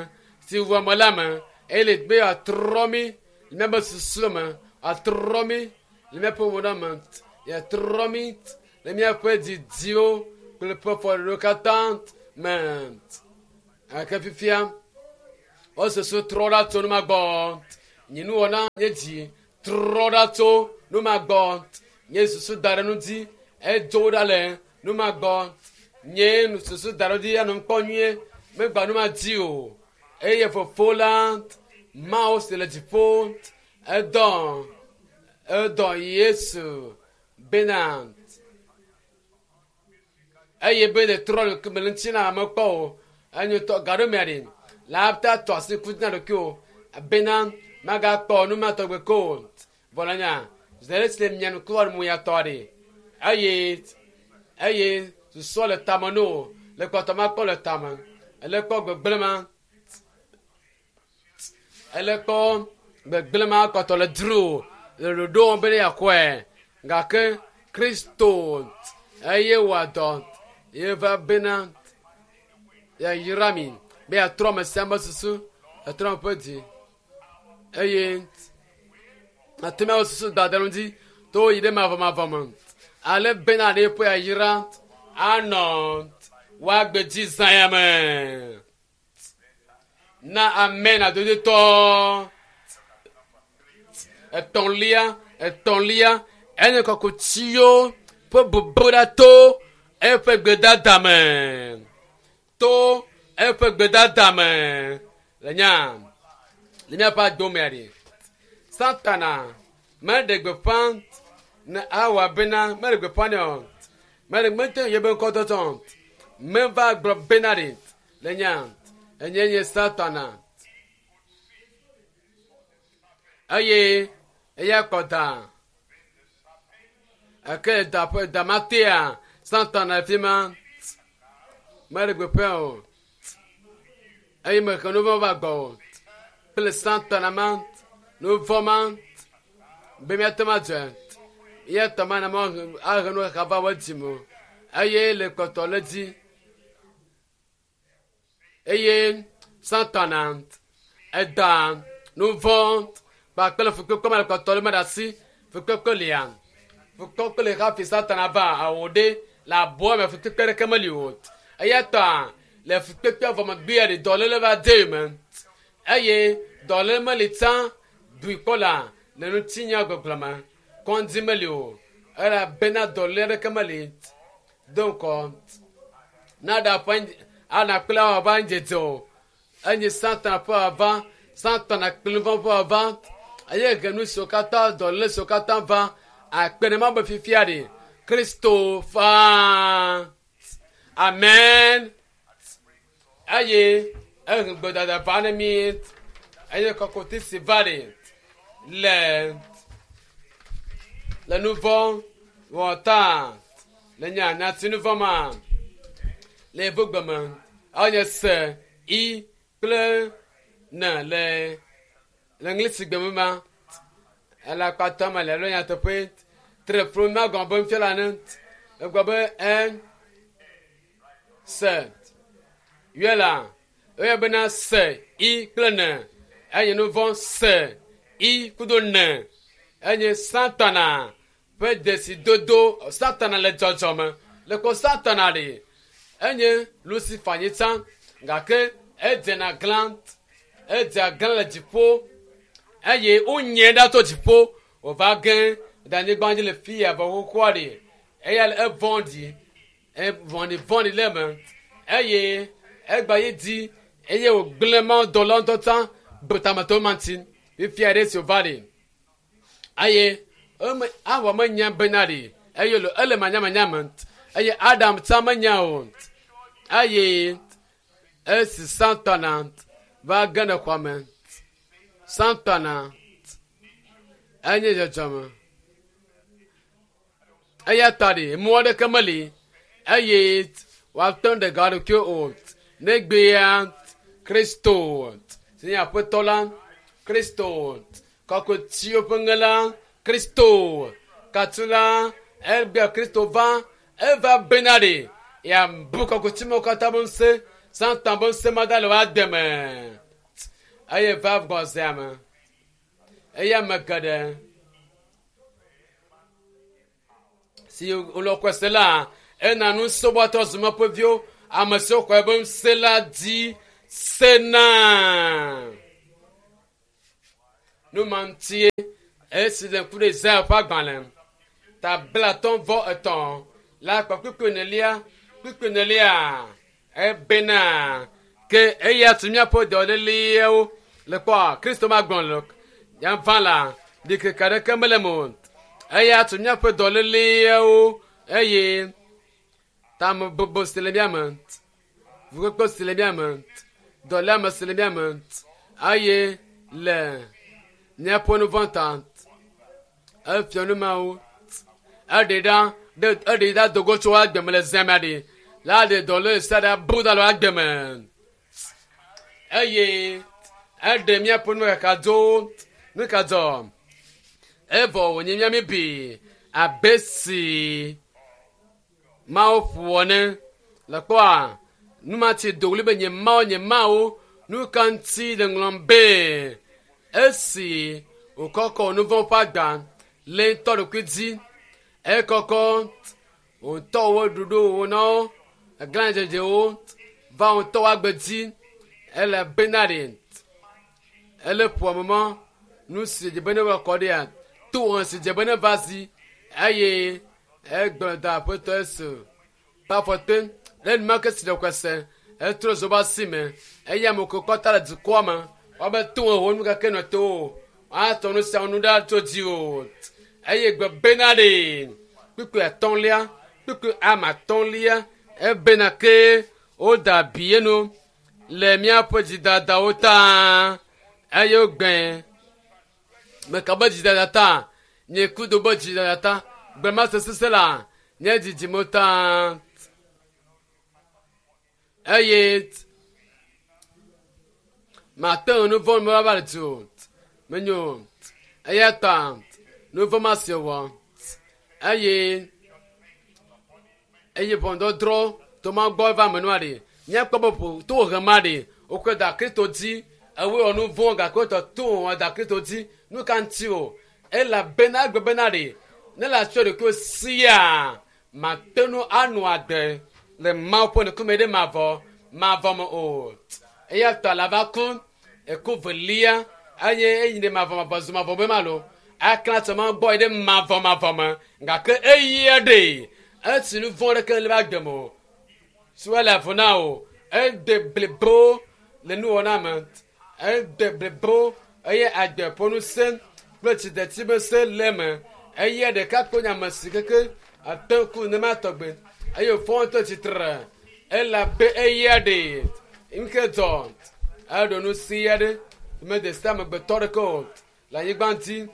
si wɔ me la me eye le be atrɔ mi le míaƒe susu me atrɔ mi le míaƒe wɔna me atrɔ mi le míaƒe didiwo kple ƒe fɔɖiɖiwo katã me gake fifia wo susu trɔ ɖa tso nu ma gbɔ nye nuwɔna nye dzi trɔ ɖa tso nu ma gbɔ nye susu da ɖe nu dzi edzo ɖa le nu ma gbɔ nye susu da ɖe dzi anɔ kpɔ nyuie megba nu ma dzi o eye fofo la Mawu si le dziƒo edɔ edɔ Yesu bena eye be le trɔ le me le ŋuti na ame kpɔ o enyo tɔ gaɖo mea ɖe la ta tɔ asi ku na ɖokui o bena magakpɔ nu ma tɔgbe ko o vɔ la nya zere si le mia ŋku mu ya tɔ ɖe eye eye susɔ le tame no le kpɔtɔ ma kpɔ le tame ele kpɔ gbegblẽ ma ele kpɔ gbegblẽ ma kpɔtɔ le dzro le ɖoɖo wɔm be ne yeakɔe gake Kristo eye wɔ dɔ ye va bena yeayra mi be yeatrɔ ame sia ame susu etrɔ ame ƒe dzi eye ate miawo susu da ɖe ŋuti to yi ɖe mavɔmavɔ me ale bena ɖe ƒe yayra anɔ woagbe dzi zã ya me na amen adodotɔ etɔ̃lia etɔ̃lia enye kɔkutsiwo ƒe bubu ɖa to eƒe gbedada me to eƒe gbedada me le nya le míaƒe adomea ɖi Satana meɖe gbeƒã ne awɔ bena meɖe gbeƒã nɛ o meɖe mete yebe ŋkɔ tɔtɔ meva gblɔ bena ɖi le nya enye nye Satana eye eya kɔ da eke da ƒe da ma tea Satana le fi ma meɖe gbeƒã o eye mehe nu vɔ̃ va gbɔ o kple Satana ma nu vɔ̃ ma be míate ŋu adzɔe eya ta mana ma ahe nu xaxa va wo dzime o eye le kpɔtɔ le dzi eye Satana eda nu vɔ̃ kpakple fukpekpe ma le kpɔtɔ le me ɖe asi fukpekpe lia fukpekpe le hafi Satana va awo ɖe le abɔa me fukpekpe ɖeke meli o eya ta le fukpekpe vɔ megbea ɖe dɔléle va de me eye dɔléle meli tsã dui kpɔ la le ŋutinya gbɔgblɔ me kɔndzi meli o elabena dɔléle ɖeke meli do ŋkɔ na ɖe aƒe ana kple awɔ va ŋdzedze o enye Satana ƒe ava Satana kple nu vɔ̃ ƒe ava eye he nu siwo katã dɔléle siwo katã va akpe ɖe ma be fifia ɖe Kristo faa amen eye ehe gbedada va ne mi eye kɔkɔti si va ɖe le le nu vɔ̃ wɔ ta le nya nyati nu vɔ̃ ma le yevu me enye se i kple ne le le ŋlisi gbe me ma ele akpatɔ me le alo nyateƒe tre flo ma gɔme be nufiala ne egblɔ be en se yɔe la eyɔ bena se i kple ne enye nu vɔ̃ se i kudo ne enye Satana ƒe dzesidodo Satana le dzɔdzɔme le kɔ Satana ɖe enye Lucifer nyi tsã gake edzena glã edzea glã le dziƒo eye wonyae ɖa tso dziƒo wòva ge ɖe anyigba dzi le fi ya vɔ xoxoa ɖe eya le evɔ̃ɖi evɔ̃ɖi vɔ̃ɖi le eme eye egba yi dzi eye wògblẽ mawudɔla ŋutɔ tsã betametɔ ma ŋuti fifia ɖe si wòva ɖe eye eme awɔ menya bena ɖe eye le ele manyamanya me eye Adam tsã menya o eye esi Satana va ge ɖe xɔa me Satana enye dzɔdzɔme eya ta ɖe mɔ aɖeke meli eye woate ŋu ɖe ga ɖokui o negbea Kristo si nye aƒetɔ la Kristo kɔkɔtiwo ƒe ŋe la Kristo katula egbea Kristo va eva bena ɖe yeabu kɔkɔtimewo katã be ŋusẽ Satan be ŋusẽ ma da le woade me eye va gbɔzea me eye ame geɖe si wòle xɔe se la ena ŋusẽ woatrɔ zu Mawu ƒe viwo ame siwo xɔe be ŋusẽ la dzi sena nu ma ŋutie esi le ŋku ɖe Isaya ƒe agbalẽ ta blatɔ̃ vɔ etɔ̃ la kpa kpukpui enelia kpukpui enelia ebena ke eya tu míaƒe dɔléleawo le kpɔa Kristo ma gblɔ le yava la ɖikeke aɖeke mele eme o eya tu míaƒe dɔléleawo eye tamebubu si le mía me fukpekpe si le mía me dɔléame si le mía me eye le míaƒe nu vɔ̃ ta efia nu mawo eɖe ɖa ɖe eɖe ɖa dogo tso agbe me le zã mea ɖe la ɖe dɔléle sia ɖe bu da le agbe me eye eɖe míaƒe nu kaka dzo nu ka dzɔ evɔ wònye mía mi bi abe si Mawu ƒo ene le kpɔa nu ma ti do ɣli be nye Mawu nye Mawu nu ka ŋuti le ŋlɔm be esi wòkɔkɔ nu vɔ̃ ƒe agba le ŋutɔ ɖokui dzi ekɔkɔ wòŋutɔ wo ɖoɖo wo na wo eglãdzedzewo va ŋutɔ wo agbe dzi ele bena ɖe ele ƒoa me mɔ nu si dze be ne va kɔ ɖea to hã si dze be ne va zi eye egblɔ da aƒetɔ Yesu Ƒe afɔte le enumake si ɖe kɔse etrɔ zo ba si me eye ame ko kɔta le dukɔa me woabe to wo nu kake nɔ to o atɔ nu sia nu ɖa tso dzi o eye gbe bena ɖe kpukpui atɔ̃lia kpukpui ame atɔ̃lia ebena ke woda abi enu le míaƒe dzidadawo ta eye wogbe meka be dzidada ta nye kudo be dzidada ta gbema sesese la nye dzidzime ta eye mate ŋu nu vɔ̃ me va le dzi o menyo eya ta nu vɔ̃ ma si wɔ eye eye ʋɔnudɔdrɔ̃ to ma gbɔ va menua ɖe míakpɔ be ƒo to he ma ɖe wokɔ da Kristo dzi ewoe wɔ nu vɔ̃ gake wotɔ to wɔ da Kristo dzi nu ka ŋuti o elabena egbe bena ɖe ne le atsɔ ɖokuiwo sia mate ŋu anɔ agbe le Mawu ƒe ŋkume ɖe mavɔ mavɔ me o eya ta la va ku eku velia eye eyi ɖe mavɔ mavɔ zu mavɔ be ma lo aklã tso ma gbɔ yi ɖe mavɔ mavɔ me gake eya ɖe esi nu vɔ̃ ɖeke le va agbe me o si wole avɔ na o ede blibo le nuwɔna me ede blibo eye agbe ƒe ŋusẽ kple tsidetsi be se le eme eye ɖeka kpo nye ame si keke ate ŋu ne ma tɔgbe eye wòfɔ ŋutɔ tsitre elabe eya ɖe ŋke dzɔ eɖo nu si aɖe mede se amegbetɔ ɖeke o le anyigba ŋuti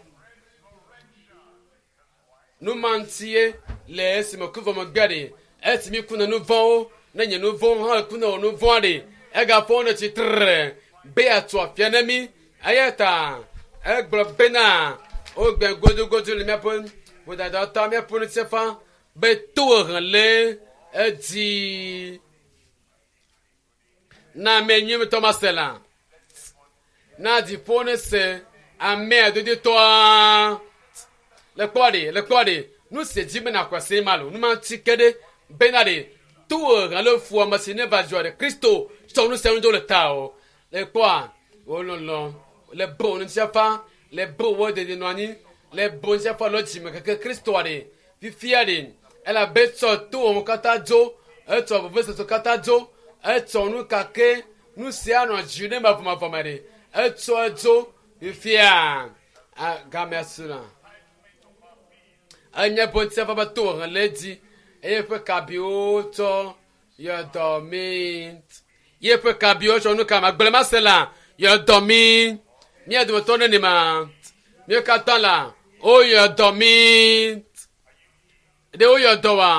nu ma ŋutie le esime ku vɔ megbe ɖe esi mi ku ne nu vɔ̃wo ne nye nu vɔ̃ hã ku ne wò nu vɔ̃a ɖe egafɔ ne tsitre be yeatu afia ne mi eya ta egblɔ bena wogbe godogodo le míaƒe vodada ta míaƒe ŋutifafa be tohehe le edzi na ame nyuimetɔ ma se la na dziƒo ne se amea dodotɔa le kpɔ ɖe le kpɔ ɖe nu si dzi bena kɔse ma lo nu ma ŋuti ke ɖe bena ɖe tohehe le fu ame si ne va dzɔ ɖe Kristo tsɔ nu sia nu do le ta o le kpɔa wolɔlɔ le bo ŋutifafa le bo wo dedie nɔ anyi le bo ŋutifafa le dzime keke Kristoa ɖe fifia ɖe elabe tsɔ towo katã dzo etsɔ vevesese katã dzo etsɔ nu kake nu sia nɔ dzi ne mavɔmavɔ me ɖe etsɔ edzo fifia gamea su la enye ƒe ŋutifafa be tohehe le edzi eye ƒe kabiwo tsɔ yɔ dɔ mi ye ƒe kabiwo tsɔ nu ka magblẽ ma se la yɔ dɔ mi mía dometɔ nene ma míawo katã la woyɔ dɔ mi ɖe woyɔ dɔ wa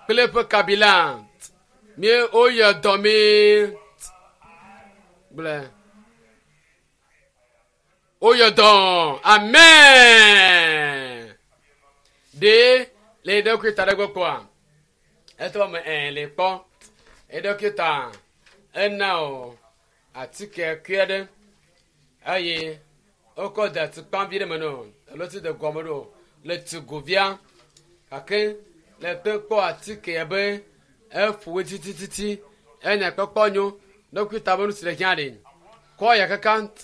kple eƒe kabi la mí woyɔ dɔ mi gblẽ woyɔ dɔ amen ɖe le eɖokui ta ɖe gbɔ kpɔa etɔ me ɛ le kpɔ eɖokui ta ena o atike kui aɖe eye wokɔ da tukpavi ɖe me no alo ti de gɔme ɖo le tugovia gake le te kpɔ atike be eƒo titititi enya kpɔkpɔ nyo ɖokui ta be nu si le hiã ɖe kɔ ya kaka.